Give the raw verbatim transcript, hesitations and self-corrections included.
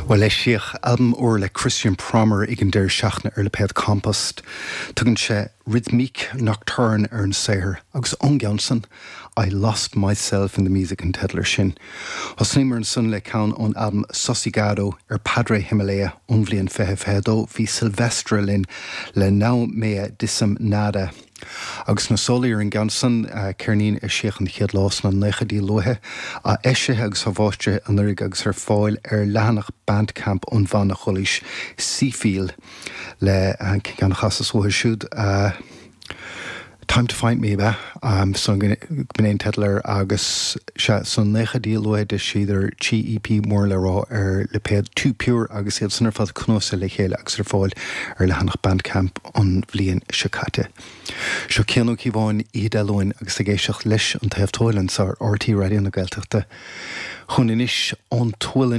Well eisíodh albam úr le Christian Prommer ag an deireadh seachtaine ar lipéad Compost. Tugann sé Rhythmique Nocturne ar an saothar agus ón gceann san I Lost Myself in the Music an teideal air sin. Thosnaíomar ansan le ceann ón albam Sosigado ar Padre Himalaya ón bhliain fiche fiche dó bhí Sylvestre linn le Não Me Dizem Nada. Agus na sólaí ar an gceann san ceirnín a eisíodh an chéad lá sna naochaidí luatha a eisithe agus athmháistrithe anuraidh agus ar fáil ar leathanach Bandcamp ón bhanna Chulaois Seafiel le ceann a chasas uathu siúd. Time to Find Me be um, so b'in an teideal air agus sé sna naochaidí luatha d'eisigh trí EP mór le rá ar lipéad Too Pure agus iad san ar fad cnuasaithe le chéile agus ar fáil ar leathanach Bandcamp an bhliain seo caite. Seo Cian Ó Cíobháin Oíche Dé Luain agus ag éisteacht leis an taobh tuaille anseo ar RTÉ Raidió na Gaeltachta. Chun inis ón tualann